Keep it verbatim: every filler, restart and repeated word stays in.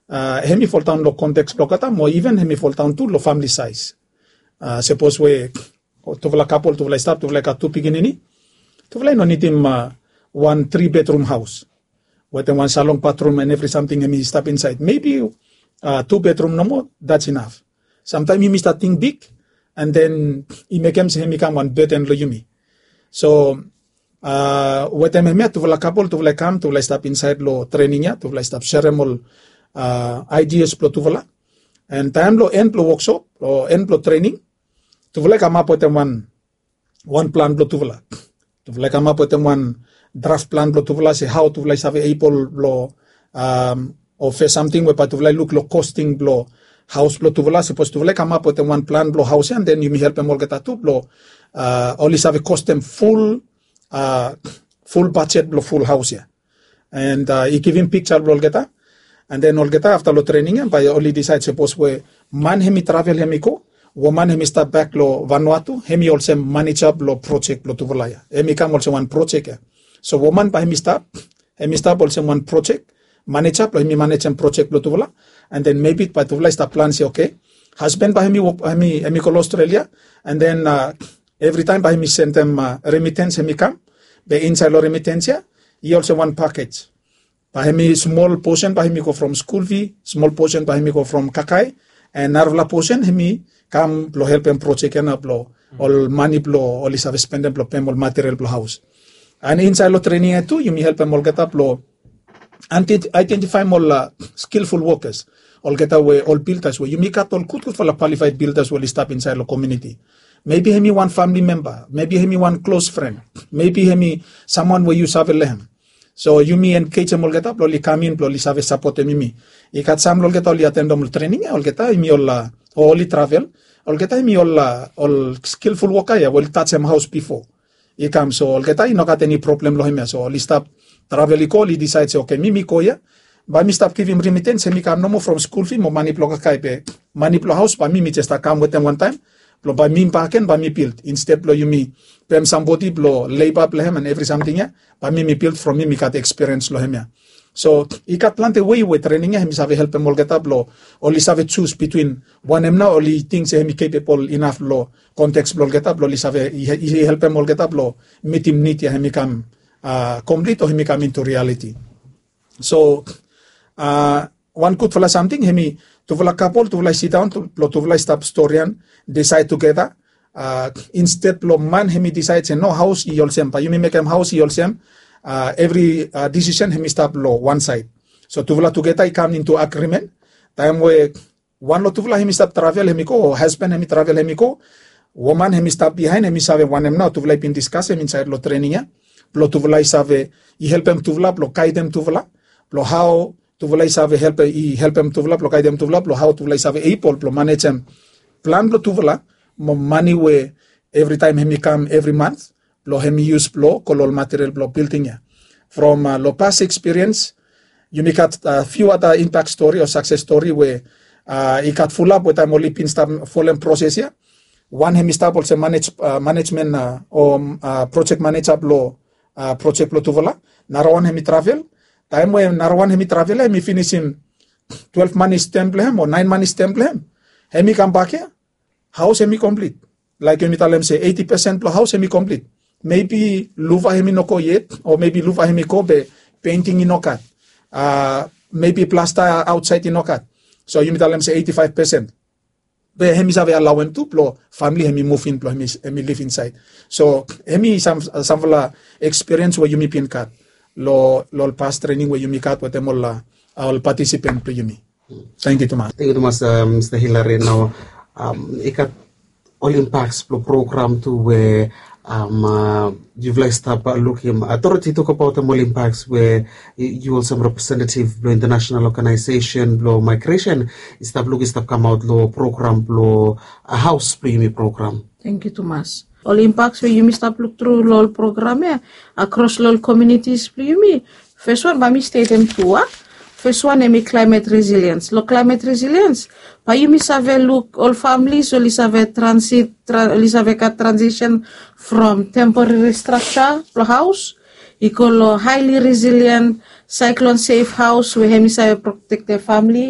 Hem i foldaon long konteks blong olgeta mo iven hem i foldaon tu long famili saiz. Sapos we tufala kapol tufala i stap tufala i gat tu pikinini, tufala i no nidim wan tri bedrum haos wetem wan salong batrum en evri samting hem i stap insaed mebi tu bedrum nomo, dats inaf. Samtaem yumi stap ting big an den i mekem se hem i kam wan beden long yumi. So wetem hemia tufala kapol tufala i kam tufala i stap insaed long trening ya tufala i stap serem ol aidias blong tufala. An taem long en blong woksop long en blong trening, tufala i kamap wetem wan wan plan blong tufala. Tufala i kamap wetem wan draf plan blong tufala se hao tufala i save ebol blong o fes samting we bae tufala i luk long kosting blong haos blong tufala sapos tufala i kamap wetem wan plan blong haos ya an den yumi helpem olgeta tu blong oli save kostem ful ful bajet blong ful haos ya. An i givim piksa blong olgeta. An den olgeta afta long trening ya bae oli disaed sapos we man hem i travel hem i go, woman hem i stap bek long vanua tu hem i olsem maneja blong projek blong tufala ya hem i kam olsem wan projek ya. So woman bae hem i stap hem i stap olsem wan projek maneja blong hem i manejem projek blong tufala. An den mebi bae tufala i stap plan se oke, hasben bae hem i wok hem i go long australia an den evritaem bae hem i sendem remitens hem i kam be insaed long remitens ya i olsem wan pakej. Bae hem i smol posen bae hem i go from skul fi, smol posen bae hem i go from kakae, an narafala posen hem i kam blong helpem projek ya nao blong ol mani blong oli save spendem blong pem ol material blong haos. An insaed long trening ya tu yumi helpem olgeta blong aedentifaem ol skilful wokas, olgeta we ol bildas we yumi gat ol gudgudfala kwalifaed bildas we oli stap insaed long komiuniti. Mebi hem i wan famili memba, mebi hem i wan klos fren, mebi hem i samwan we yu save long hem. So yumi engejem olgeta blong oli kam in blong oli save sapotem yumi. I gat sam long olgeta oli atendem ol trening ya olgeta hem i ol o oli travel, olgeta hem i ol ol skilful woka ya we oli tajem haos bifo. I kam so olgeta i no gat eni problem long hem ya so oli stap travel i go oli disaed se oke mi mi go ya, bae mi stap givim rimitens hem i kam nomo from skul fi mo mani blong kakae be mani blong haos bae mi mi jes stap kam wetem wantaem blong bae mi baken bae mi bild insted blong yumi pem sambodi blong leiba blong hem an evri samting ya, bae mi mi bild from mi mi gat ekspiriens long hem ya. So i gat plante wei we trening ya hem i save helpem olgeta blong oli save jus bitwin wanem nao oli ting se hem i kepebol inaf long konteks blong olgeta blong oli save i helpem olgeta blong mitim nid ya hem i kam komplit o hem i kam intu rialiti. So wan gudfala samting hem i tufala kapol tufala i sidaon blong tufala i stap storian disaed tugeta. Insted blong man hem i disaed se no haos i olsem bae yumi mekem haos i olsem, evri disisen hem i stap long wan saed. So tufala tugeta i kam intu agrimen taem we wan long tufala hem i stap travel hem i go o hasben hem i travel hem i go, woman hem i stap bihaen hem i save wanem nao tufala i bin diskasem insaed long trening ya blong tufala i save i helpem tufala blong gaedem tufala blong hao tufala i save helpem i helpem tufala blong gaedem tufala blong hao tufala i save ebol blong manejem plan blong tufala mo mani we evritaem hem i kam evri mans blong hem i yus blong go long ol material blong bilding ya. From long pas ekspiriens yumi gat fiu ada impak stori o sakses stori we i gat fulap we taem oli bin stap folem proses ya. Wan hem i stap olsem manejmen o projek maneja blong projek blong tufala. Narawan hem i travel taem we narawan hem i travel ya hem i finisim twelef manis tem blong hem o naen manis tem blong hem, hem i kambak ya haos hem i komplit. Laek yumi talem se eiti pesen blong haos hem i komplit. Mebi luva hem i no go yet o mebi luva hem i go be penting i no gat, mebi plasta aotsaed i no gat. So yumi talem se eiti faef pesen be hem i save alaoem tu blong famili hem i muvin blong hem i liv insaed. So hem i samfala ekspiriens we yumi bin gat long ol pas trening we yumi gat wetem ol patisipen blong yumi. Tangkiu tumas. Tangkiu tumas. Mista hilari nao i gat ol impaks blong program tu we yufala i stap lukim atoriti i tokabaotem ol impaks we yu olsem representetiv blong intanasenal ogenaesesen blong maigresen i stap luk i stap kamaot long program blong haos blong yumi program. Tangkiu tumas. Ol impaks we yumi stap luktru long ol program ya akros long ol komiunitis blong yumi. Feswan bae mi stetem tu a feswan hem i klaemet resiliens long klaemet resiliens bae yumi save luk ol familis oli save transit oli save gat transisen from temporari straksa blong haos i go long haeli resilien saiklon sef haos we hem i save protektem famili.